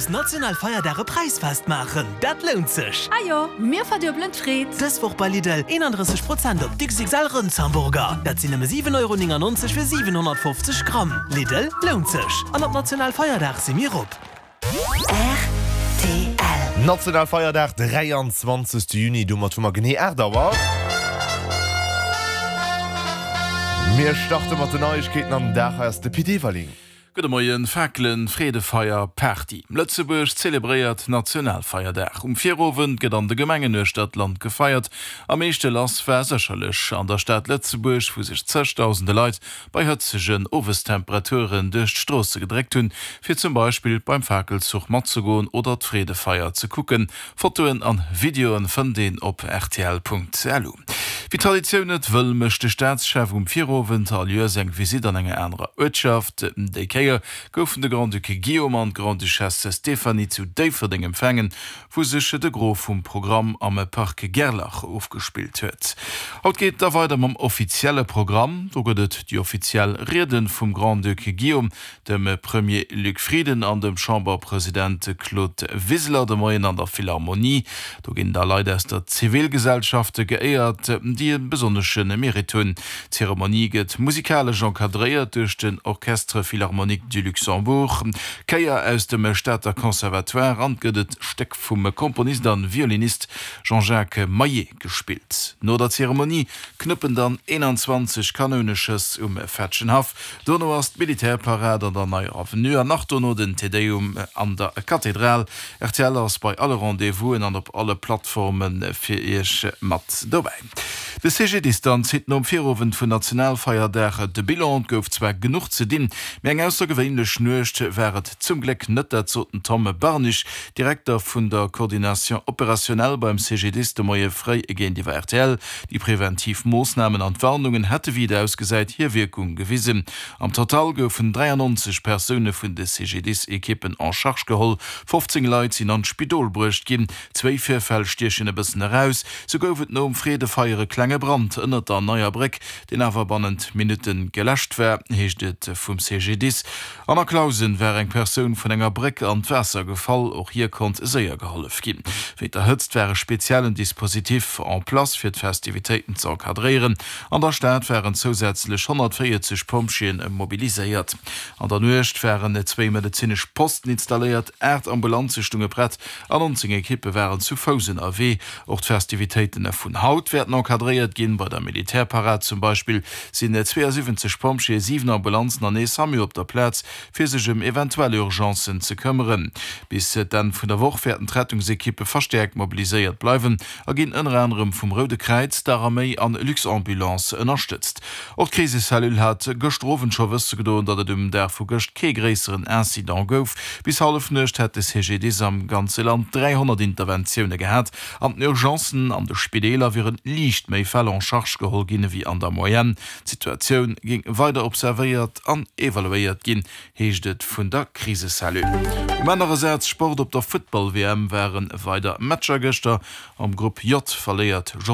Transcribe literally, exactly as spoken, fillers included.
aus Nationalfeierdag e Präisfest maachen, dat lount sech! Ah jo, mir verduebelen d'Freed! Dës Woch bei Lidl eenandrësseg Prozent op d'X X L Rëndshamburger. Dat sinn nëmme siwen Euro néngennonzeg fir siwenhonnertfofzeg Gramm. Lidl, lount sech! An op Nationalfeierdag si mir op. R T L. Nationalfeierdag, dräianzwanzegste Juni, domat hu mer genee aacht Auer. Mir starte mat den Neiegkeeten am Dag. Hei ass de Pit Everling. Gudde Moien, Fakelen, Freedefeier, Party. Lëtzebuerg zelebréiert Nationalfeierdag. Um Virowend gëtt an de Gemengen uechter d'Land gefeiert. Am meeschte lass war sécherlech an der Stad Lëtzebuerg, wou sech zegdausende Leit bei hëtzegen Owestemperaturen duerch d'Stroosse gedréckt hunn, fir zum Beispill beim Fakelzuch matzegoen oder d'Freedefeier ze kucken. Fotoen an Videoen fënnt een op rtl Punkt lu. Wéi d'Traditioun et wëll, mécht de Staatschef um Virowend all Joers eng Visitt an enger anerer Uertschaft. Déi Kéier goufen de Grand-Duc Guillaume an d'Grande-Duchesse Stéphanie zu Déifferdeng empfaangen, wou sech de Gros vum Programm am Parc Gerlach ofgespillt huet. Haut geet et da weider mam offizielle Programm. Do gëtt et déi offiziell Rieden vum Grand-Duc Guillaume, dem Premier Luc Frieden an dem Chamberpresident Claude Wiseler de Moien an der Philharmonie. Do ginn da Leit aus der Zivilgesellschaft geéiert, déi e besonnesche Meritt hunn. D'Zeremonie gëtt musikalesch encadréiert duerch den Orchestre Philharmonique du Luxembourg, Chéier aus dem Stater Conservatoire an et gëtt et Stéck vum Komponist an Violinist Jean-Jacques Maillet gespillt. No der Zeremonie knëppen dann eenanzwanzeg Kanouneschëss um Fetschenhaff. Dono ass d'Militärparad an der Neier Avenue an nach dono den Te Deum an der Kathedral. R T L ass bei alle Rendez-vousen an op alle Plattforme fir iech mat dobäi. De C G D I S dann zitt nom Virowend vun Nationalfeierdag de Bilan. Et gouf zwar genuch ze dinn, mee eng aussergewéinlech Nuecht war et zum Gléck net, dat sot den Tom Barnig, Direkter vun der Coordination opérationnelle beim C G D I S de Moie fréi géintiwwer R T L. Déi preventiv Moossnamen an d'Warnungen hätte wéi et ausgesäit hir Wierkung gewisen. Am Total goufen dräiannonzeg Persoune vun de C G D I S-Ekippen en charge geholl, fofzéng Leit sinn an d'Spidol bruecht ginn. Zwéi Virfäll stiechen e bëssen eraus, Sou gouf et nom Freedefeier e klenge Brand ënnert der Neier Bréck, deen awer bannent Minutte geläscht war, heescht et vum C G D I S. An a Clausen war eng Persoun vun enger Bréck an d'Waasser gefall, och hir konnt séier gehollef ginn. Wéinst der Hëtzt war e speziellen Dispositif en place fir d'Festivitéiten ze encadréieren. An der Stad waren zousätzlech honnertvéierzeg Pompjeeën mobiliséiert. An der Nuecht waren zwéi medezinesch Posten installéiert, aacht Ambulanze stounge prett an nonzéng Ekippe waren zu Fouss ënnerwee. Och d'Festivitéiten vun haut wäerten encadréiert ginn. Bei der Militärparad zum Beispill sinn zweeësiwwenzeg Pompjeeë, siwen Ambulanzen an ee SAMU op der Plaz, fir sech ëm eventuell Urgencen ze këmmeren. Bis d'Enn vun der Woch wäerten d'Rettungsekippe verstäerkt mobiliséiert bleiwen a ginn ënner anerem vum Roude Kräiz, der Arméi an Luxambulance ënnerstëtzt. Och d'Krisecellule hat gëschter Owend scho wësse gedoen, datt et um Dag vu gëscht kee gréisseren Incident gouf. Bis Hallefnuecht hätt de C G D I S am ganze Land dräihonnert Interventioune gehat. An den Urgencen an de Spideeler wiere liicht méi Fäll en charge geholl ginn ewéi an der Moyenne. D'Situatioun géing weider observéiert an evaluéiert ginn, heescht et vun der Krisecellule. Um anere Saz Sport: Op der Futtball-W M ware weider Matcher gëschter. Am Grupp J verléiert Jordanien.